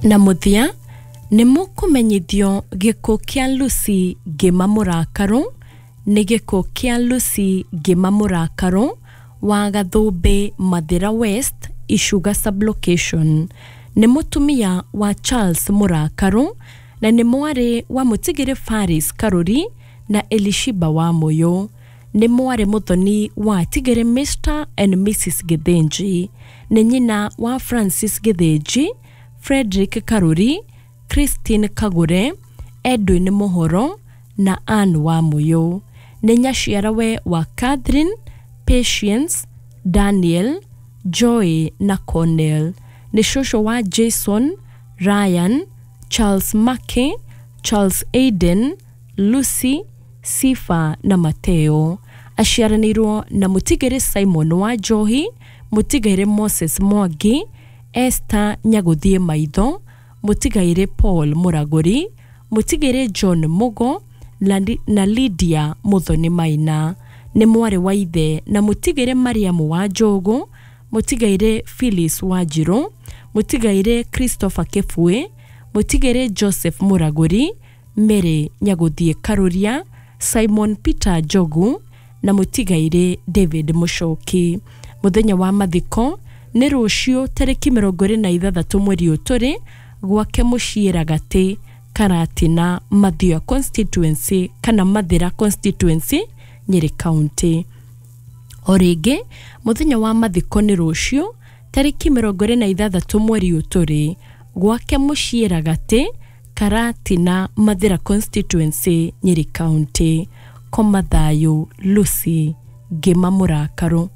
Na mũthia nĩ mũkũmenyithio gĩkuũ kĩa Lucy Ngĩma Mũrakarũ. Nĩ gĩkuũ kĩa Lucy Ngĩma Mũrakarũ wa Gathũmbĩ, Mathĩra West, Icuga sublocation. Nĩ mũtumia wa Charles Mũrakarũ na nĩ mwarĩ wa mũtigĩrĩ Faris Karũri na Elishiba wa Mũyũ. Nĩ mwarĩ mũthoni wa tigĩrĩ Mr and Mrs Gĩthĩnji. Nĩ nyina wa Francis Gĩthĩnji, Frederick Karũri, Christine Kagũre, Edwin Mũhoro na Ann wa Mũyũ. Nĩ nyaciarawe wa Catherine, Patience, Daniel, Joy na Cornell. Nĩ cũcũ wa Jason, Ryan, Charles Mackey, Charles Aiden, Lucy, Sifa na Mateo. Aciaranĩirwo na mũtigĩrĩ Simon wa Njohi, mũtigairĩ Moses Mwangi, Esther Nyagũthiĩ Maitho, mũtigairĩ Paul Mũragũri, mũtigĩrĩ John Mugo na Lydia Mũthoni Maina. Nĩ mwarĩ wa ithe na mũtigĩrĩ Mariamu wa Njũgũ, mũtigairĩ Phyllis Wanjirũ, mũtigairĩ Christopher Kĩbuĩ, mũtigĩrĩ Joseph Mũragũri, Mary Nyagũthiĩ Karũria, Simon Peter Njogu na mũtigairĩ David Mũcoki. Mũthenya wa mathiko nĩ rũciũ tarĩki 26 mweri ũyũ tũrĩ, gwake mũciĩ Ragatĩ, Karatina, Mathioya constituency kana Mathĩra constituency, Nyĩrĩ County. O rĩngĩ mũthenya wa mathiko nĩ rũciũ tarĩki 26 mweri ũyũ tũrĩ, gwake mũciĩ Ragatĩ, Karatina, Mathĩra constituency, Nyĩrĩ County. Koma thayũ Lucy Ngĩma Mũrakarũ.